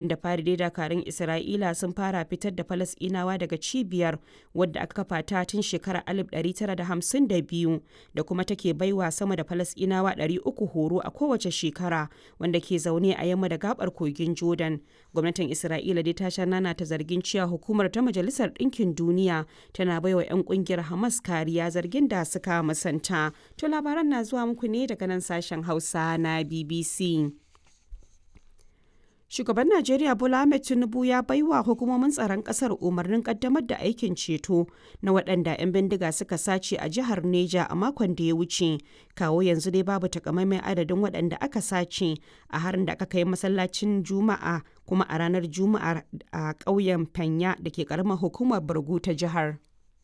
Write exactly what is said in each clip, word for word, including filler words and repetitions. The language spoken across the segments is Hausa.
Da fari dai dakarun Isra'ila sun fara fitar da Falasɗinawa daga cibiyar, wadda aka kafa ta tun shekarar alif ɗari tara da hamsin da biyu da kuma take baiwa sama da Falasɗinawa ɗari uku horo a kowace shekara, wanda ke zaune a yamma da gabar kogin Jordan. Gwamnatin Isra'ila dai ta sha nanata zargin cewa hukumar ta Majalisar Ɗinkin Duniya tana baiwa 'yan kungiyar Hamas kariya, zargin da suka musanta. To labaran na zuwa muku ne daga nan sashen Hausa na B B C. Shugaban Najeriya Bola Ahmed Tinubu ya baiwa hukumomin tsaron kasar umarnin kaddamar da aikin ceto na waɗanda 'yan bindiga suka sace a jihar Neja a makon da ya wuce. Kawo yanzu dai babu takamaiman adadin waɗanda aka sace a harin da aka kai masallacin Juma'a kuma a ranar Juma'a a ƙauyen Fanya da ke ƙaramar hukumar Bargu ta jihar.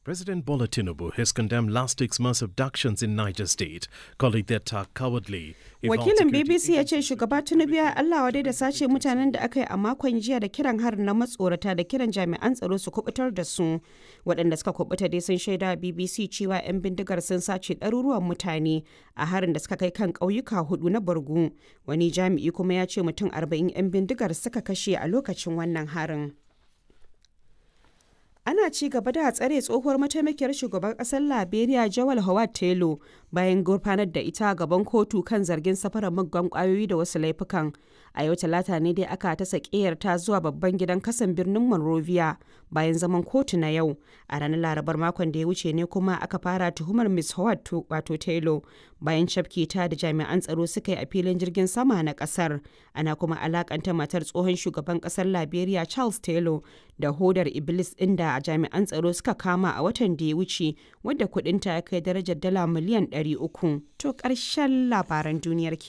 President Bola Tinubu has condemned last six months' abductions in Niger State, calling the attack cowardly. Wakilin B B C ya ce shugaba Tinubu ya Allah wadai da sace mutanen da aka yi a makon jiya da kiran harin na matsorata da kiran jami'an tsaro su kubutar da su. Waɗanda suka kubuta dai sun shaida B B C cewa 'yan bindigar sun sace ɗaruruwan mutane a harin da suka kai kan ƙauyuka hudu na Borgu. Wani jami'i kuma ya ce mutum arba'in 'yan bindigar suka kashe a lokacin wannan harin. Ana ci gaba da tsare tsohuwar mataimakiyar shugaban kasar Liberia Joel Howard Taylor bayan gurfanar da ita gaban kotu kan zargin safarar muggan kwayoyi da wasu laifukan. A yau Talata ne dai aka ta sakiyar ta zuwa babban gidan kasan birnin Monrovia bayan zaman kotu na yau. A ranar Larabar makon da ya wuce ne kuma aka fara tuhumar Miss Howard, wato Taylor, bayan cafke ta da jami'an tsaro suka yi a filin jirgin sama na kasar. Ana kuma alakanta matar tsohon shugaban kasar Liberia Charles Taylor da hodar Iblis inda jami'an tsaro suka kama a watan da ya wuce, wadda kudinta ya kai darajar dala miliyan ɗari uku. To ƙarshen labaran duniyar ke.